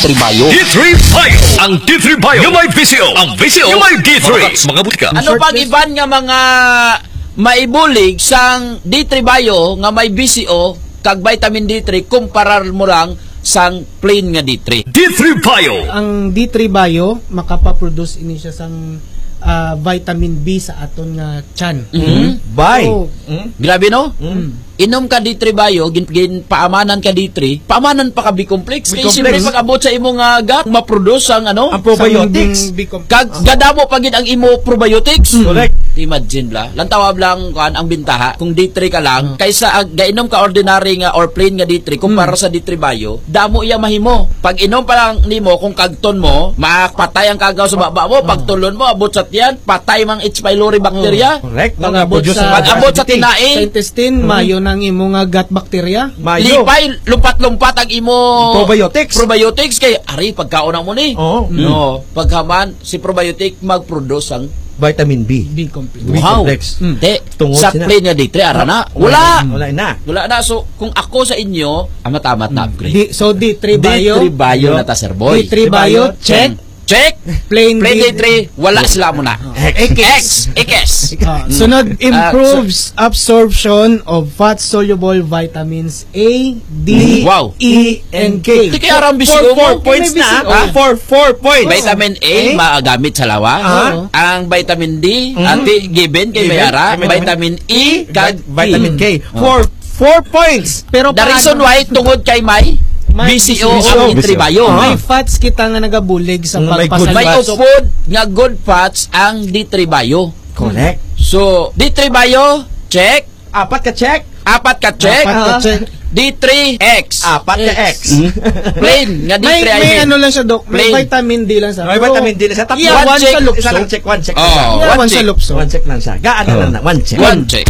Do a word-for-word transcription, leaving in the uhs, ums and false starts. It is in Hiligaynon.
Tribayo. D three Bio. Ang D three Bio nga may V C O. Ang V C O nga may D three. Mga butika. Ano pang iban nga mga maibulig sang D three Bio nga may V C O kag vitamin D three kumparar mo lang sang plain nga D three? D three Bio. Ang D three Bio, makapaproduce ini siya sang, ah, vitamin B sa aton nga tiyan. Mhm. Bay. So, Mm. Grabe, no? Mm. Inom ka D three Bio, gin-, ginpaamanan ka D three, paamanan pa ka B-complex. Kay B-complex. Siyempre, pag-abot sa imo nga gut, maproduce ang, ano? Ang probiotics. Sang B-complex. Kag gadamo pa gid ang imo probiotics. Mm. Correct. Imagine, bla. Lantawa lang, kuan, ang bintaha, kung D three ka lang, Mm. kaysa ag gainom ka ordinary nga or plain nga D three, kumpara Mm. sa D three Bio, damo iya mahimo. Pag inom pa lang nimo, kung kagton mo, mapatay ang kagaw sa baba mo, Mm. pagtulon mo, abot sa tiyan, patay mang H. pylori bacteria. Oh, correct. Pag-abot Pag-abot sa sa, pag-abot sa acidity. Tinai, Sa intestine, Mm. mayo nang imo nga gut bacteria. Mayo. Lipay, lumpat-lumpat ang imo Probiotics. Probiotics kay ari pagkaon na mo ni. Oo. No, paghaman si probiotic mag-produce ang Vitamin B. B complex. Wow. B complex. Mm. Te, Tungod sa sina- plain nga D three, ara na. Ah, Wala. Wala na. Wala na. So, kung ako sa inyo, amat-amat na Mm. upgrade. Di, so, D three Bio. D three Bio na ta, sir boy. D three Bio, check. Check. Plain Plain D three. D three, wala sila mo na. X. X. X. Ah, sunod, Ah, improves absorption of fat-soluble vitamins A, D, Wow. E, and K. Tiki, aram, Four, bisigo four mo. points May na. bisigo. Ah, four, four points. Vitamin A, Eh? magamit sa lawas. Ah. Oo. Ang vitamin D, Mhm. ati, given kay Given. Mayara. May Vitamin E, kag Vit-, vitamin K. K. Oh. Four, four points. Pero The reason paano? why, tungod kay may May B C O B C O. ang D three Bio. Ah. May fats kita nga nagabulig sa Mm, may good pagpasal. May fats. Upod nga good fats ang D three Bio. Correct. So, D three Bio, check. Apat ka check. Apat ka check. Apat ka Ah. check. D three X. Apat ka X. X. Mm. Plain nga May, D three may I mean. ano lang siya, Doc. May Plain. vitamin D lang siya. May Pero vitamin D lang siya. Tapos yeah, one one check, sa lupso. Isa lang check, one check Oh, lang siya. Yeah, one one sa check. lupso. One check lang siya. Gaan na Oh. lang na, one check. One check.